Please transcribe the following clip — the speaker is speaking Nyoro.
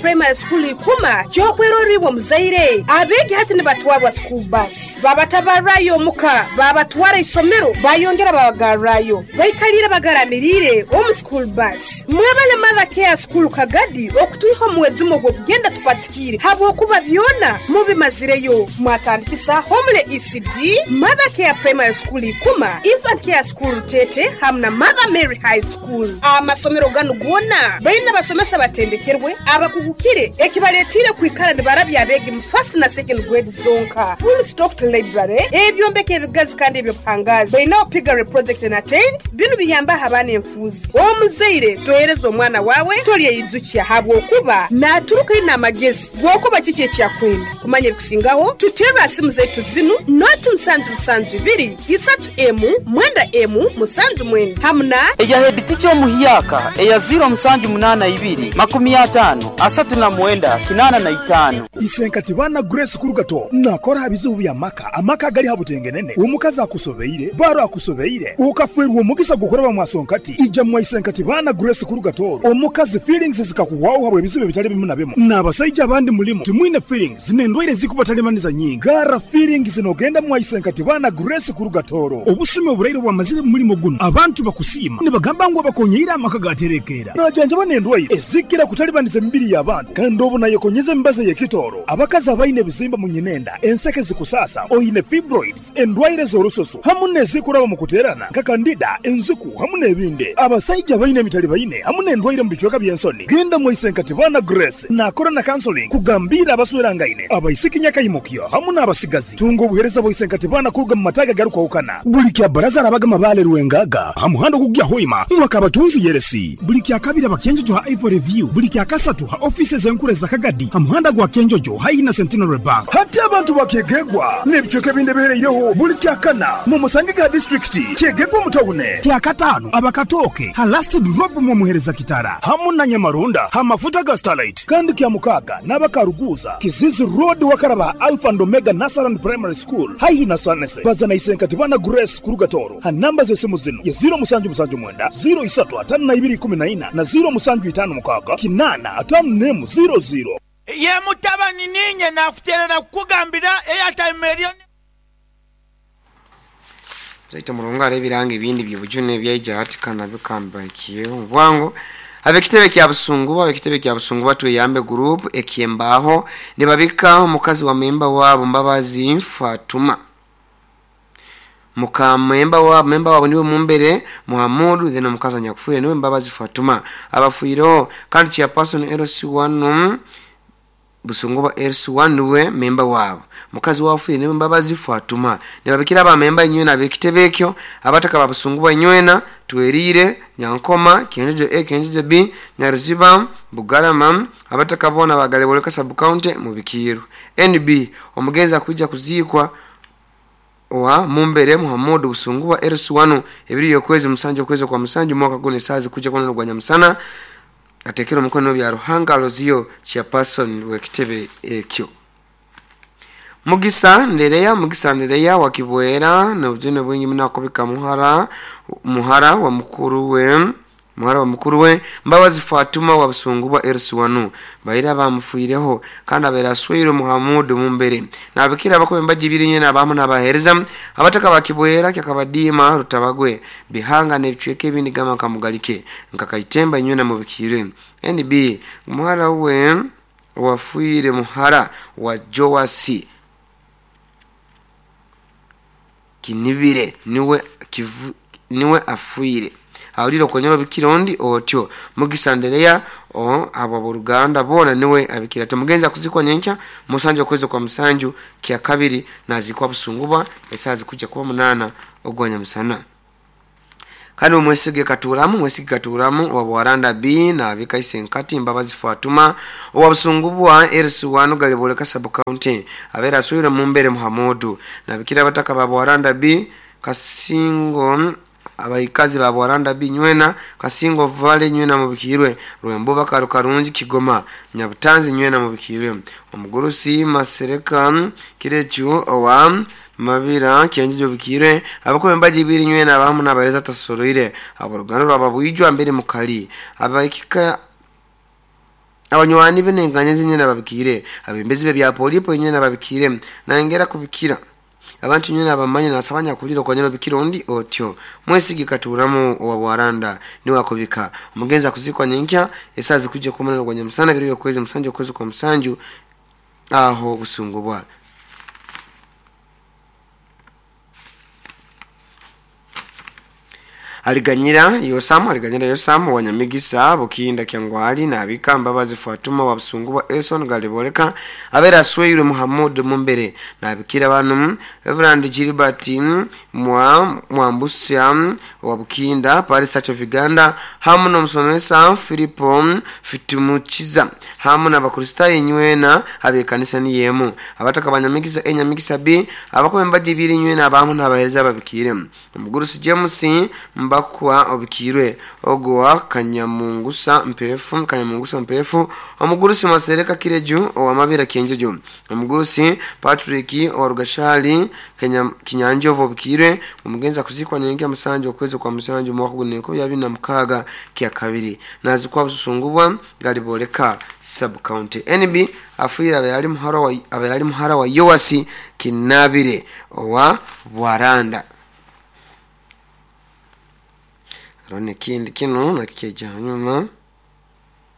Primary School Ikuma ky'okwerorra iwe omuzaire. Abeegi hati nibatwarwa school bus, babatabarrayo omuka, babatwara isomero, bayongera babagarrayo. Baikaliire bagaramiriire omu school bus. Mwebale Mother Care School Kagadi okutwiha omu mwejumo ogw'okugenda tupatikiire habwokuba byona mubimazireyo. Mwatandikisa Homely ECD, Mother Care Primary School Ikuma, Infant Care School Rutete hamu na Mother Mary High School. Amasomero ganu goona baine abasomesa abatendekerwe, abakugukire ekibaletiire kwikara nibarabya abeegi mu first na second grade zonka. Full stocked library, ebyombeko ebigazi kandi eby'obuhangaazi. Bainaho piggery project and attained. Binu biyambaho abaana enfuuzi. Omuzaire tohereza omwana waawe tolyeyijukya habwokuba naaturuka aine amagezi g'okuba kiki eki akwenda. Kumanya ebikusingaho, tuterre ha simu zaitu zinu, noti musanju musanju ibiri, isatu emu, mwenda emu, musanju mwenda hamu na. Eya heeditica omuhyaka eya ziiro musanju munaana ibiri, makumi ataano, asatu na mwenda, kinaana na itaano. Isenkati baana Grace Kurugato nakora ha bizibu by'amaka, amaka agali ha butengenene, omukazi akusobeire, baro akusobeire, okafeerwa omugisa gw'okuraba mwa Sonkati, ija mwa Isenkati baana Grace Kurugato, omukazi feelings zikakuhwaho habw'ebizibu ebitali bimu na bimu, n'abasaija abandi mulimu timwine feelings n'endwaire ezikubatalibaniza nyingi, garra feelings nogenda mwa Isenkati baana Grace Kurugatoro. Obusumi oburaire obwamazire mu mulimo gunu, abantu bakusiima nibagamba ngu abakonyeire amaka gaterekeera. Najanjaba n'endwaire ezikira kutalibaniza emibiri y'abantu kandi obu nayekonyeza emibazi ey'ekitooro. Abakazi abaine ebizimba mu nyinenda, enseke zikusaasa, oine fibroids, endwaire z'orususu hamu n'ezikuraba omu kuteerana nka kandida, enziku hamu n'ebindi. Abasaija abaine emitalibaine hamu n'endwaire omu bicweka by'ensoni, genda mwaise nka Tibana Grace naakora na counseling kugambiira abaswerangaine, abaisiki nyakaimukyo hamu n'abasigazi. Tunga obuheereza bwa Isenkatibana kuruga mu mataagi agarukwahukana. Buli kya Bbaraza arabaga Mabaale Rwengaga ha muhanda ogukugya Hoima, Mwakabatunzi Yeresi. Buli kya Kabiri aba Kyenjojo ha Ivory View. Buli kya Kasatu ha ofiisi ez'enkuru eza Kagadi ha muhanda gwa Kyenjojo haihi na Centenary Bank. Hati abantu ba Kyegegwa n'ebicweka ebindi ebihereireho buli kya Kana mumusangege ha disiturikiti Kyegegwa omu tawune. Kya Kataano aba Katooke ha Last Drop mwomuhereza Kitara hamu na Nyamaronda ha mafuta ga Starlight. Kandi kya Mukaaga n'aba Karuguuza, Kizizi Road wakaraba ha Alpha and Omega Nursery and Primary School haihi na Sanese. Baza na Isenkatibana Grace kuruga Tooro ha namba z'esimu zinu ye ziiro musanju musanju mwenda, ziiro isatu ataano na ibiri ikumi na ina na ziiro musanju itaano mukaaga kinaana ataano n'emu ziiro ziiro. Ye mutabani, niinye naakuteerera kukugambira eyataima eryo ni. Zaita Murungu ebiranga ebindi by'obujune ebyaija hati kana bikambaikiyeho bwangu. Ab'ekitebe kya Busunguba Ab'ekitebe kya Busunguba Tweyambe Group eky'embaaho nibabika omukazi wa memba waabo Mbabazi Fatuma. Muka memba waabo memba waabo niwe Mumbere Muhamudu then omukazi anyakufiire niwe Mbabazi Fatuma. Abafiireho kandi Chairperson LC1 Busunguba LC1 niwe memba waabo. Mukazi wafiire niwe Mbabazi Fatuma. Nibabikira ba memba inywena ab'ekitebe ekyo, abataka ba Busunguba inywena, Tweriire, Nyankoma, Kyenjojo A, Kyenjojo B, Nyaruziba, Bugarama, abataka boona ba Galeboleka Sub County Mubikiirwe. NB, Omugenzi akwija kuziikwa owa Mumbere Muhamudu Busunguba LC1 ebiri y'okwezi musanju okwezi okwa musanju mwaka gunu esaaha zikuja kuba n'ogwa nyamusana. Atekere omukono Byaruhanga Aloziyo Chairperson w'ekitebe ekyo. Mugisa Ndereya Mugisa Ndereya wa Kibwera n'obujune bwingi muno akubika muhara muhara wa mukuru we muhara wa mukuru we Mbabazi Fatuma wa Busungubwa LC1 baire abamufiireho kandi abaire asweirwe Muhamudu Mumbere nabikira abakuba embaji ibiri nyena abamu nabahereza abataka ba Kibwera Kyakabadiima Rutabagwe Bihanga n'ebicweka ebindi gamba nka Mugalike nka Kaitemba inywena mubikiirwe NB muhara we owafiire muhara wa Joasi Kinibire niwe kivu niwe afiire ahulire okonyera obikira ondi otyo Mugisa Ndereya o abo ab'oruganda boona niwe abikira ati omugenzi akuzikwa nyenkya musanju okwezi okwa musanju kyakabiri nazikwa Busungubwa esaaha zikuja kuba munaana ogwa nyamusana. Kandi Omwesige Katuuramu Mwesige Katuuramu owa Bwaranda B nabika Isenkati Mbabazi Fatuma owa Busungubwa LC1 Galiboleka Sub County abaire asweirwe Mumbere Muhamudu nabikira abataka ba Bwaranda B Kasingo abaikazi ba Bwaranda B nywena Kasingo Valley nywena mubikiirwe Rwembuba Karukarungi Kigoma Nyabutanzi nywena mubikiirwe Omugurusi Masereka Kirechu owa Mabira Kyenjojo Bikirwe abakuba embaji ibiri nywena abamu nabahereza atasoroire aboruganda rwa Babwijwa mbere mukali abaikika Abanywani be n'enganya ze nywena babikiire, abembezi be bya polipo nywena babikiire, nayongera kubikira abantu nywena abamanya. Nasaba nyakulira okonyera obikira ondi otyo. Mwesigi Katuramu owa Bwaranda niwe akubika. Omugenzi akuzikwa nyenkya esaa zikujja kumunana gwa nyamusana, biro byokwezi 7 okwezi kwa 7, aho Busungubwa. Aliganyira Yosamu, Aliganyira Yosamu Wanyamigisa, Bukinda, Kyangwali, nabika Mbabazi Fatuma wa Busungubwa, Eson Galiboleka abera asweirwe Muhammad Mumbere, nabikira banu Reverend Gilbert mwa Mwambusya wa Bukinda, Paris Church of Uganda, hamu n'omusomesa Filipo Fitumukiza, hamu n'Abakristaayo nywena abekanisa niyemu, abataka Banyamigisa Enyamigisa B, abakuba embagi nywena abamu n'abahereza babikire. Omugurusi James Mbakwa obikirwe ogwa Kanyamungusa Mpefu, Kanyamungusa Mpefu. Omugurusi Masereka Kireju owamabira Kyenjojo. Omugurusi Patrick Orugashali Kinyanjovu obikirwe. Omugenzi akuzikwa nyenke 7 okwezi kwa 7 mwaka guno 2026 kya kabiri, nazikwa Busungubwa, Galiboleka sub county. NB afiire aberali muhara wa Yoasi Kinabire owa Bwaranda. Rone kindi kino nakikeja hanyuma.